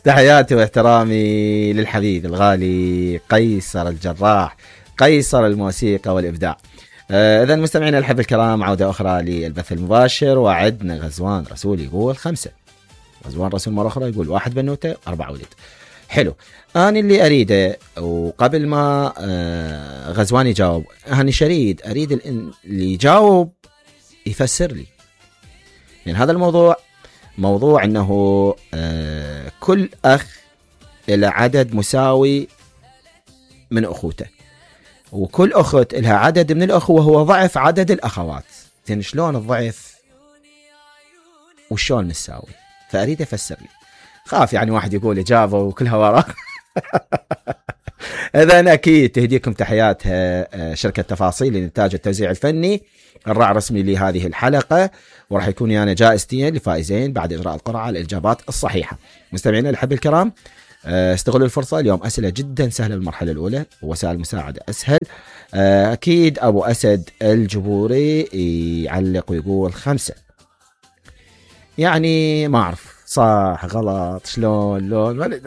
تحياتي واحترامي للحبيب الغالي قيصر الجراح، قيصر الموسيقى والإبداع. إذن مستمعينا الحب الكرام، عودة أخرى للبث المباشر. وعدنا غزوان رسول يقول 5، غزوان رسول مرة أخرى يقول 1 بنوتة 4 ولد. حلو. أنا اللي أريده، وقبل ما غزوان يجاوب، أنا شريد أريد اللي يجاوب يفسر لي، يعني هذا الموضوع موضوع أنه كل أخ إلى عدد مساوي من أخوته، وكل أخت إلها عدد من الأخوة وهو ضعف عدد الأخوات. زين شلون الضعف وشلون نساوي؟ فأريد أفسر لي. خاف يعني واحد يقول إجابة وكلها وراء. إذن أكيد تهديكم تحياتها شركة تفاصيل للإنتاج والتوزيع الفني، الراعي الرسمي لهذه الحلقة، وراح يكون يعني جائزتين لفائزين بعد إجراء القرعة على الإجابات الصحيحة. مستمعينا الأحبة الكرام، استغلوا الفرصة، اليوم أسئلة جدا سهلة بالمرحلة الأولى، ووسائل المساعدة أسهل. أكيد أبو أسد الجبوري يعلق ويقول 5، يعني ما أعرف صح غلط شلون لون